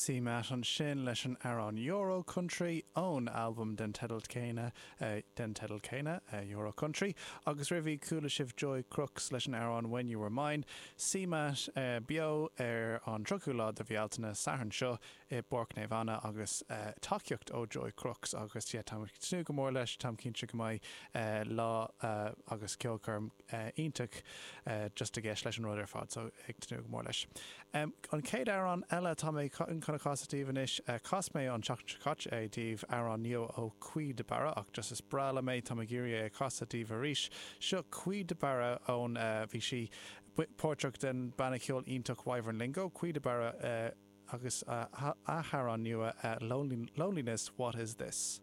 CMAT ansin leis an amhrán Euro Country ón albam den teideal céanna den teideal céanna, Euro Country, agus roimhe chuala sibh Joy Crooks leis an amhrán When You Were Mine. CMAT beo ar an 30ú lá de Bhealtaine, Satharn seo, i bPáirc Naomh Anna agus tacaíocht ó Joy Crooks agus yeah táim ag tnúth go mór leis, táim cinnte go mbeidh lá agus ceolchoirm iontach just i gceist leis an rud ar fad so ag tnúth go mór leis. An chéad amhrán eile atá mé chun a chasadh daoibh anois, chas mé an tseachtain seo caite é daoibh, amhrán nua ó Caoi de Barra ach just is breá liom é, táim ag iarraidh é a chasadh daoibh arís. Seo Caoi de Barra ón, bhí sí páirteach den banna ceoil iontach Wyvern Lingo, Caoi de Barra agus a hamhrán nua Loneliness, What Is This?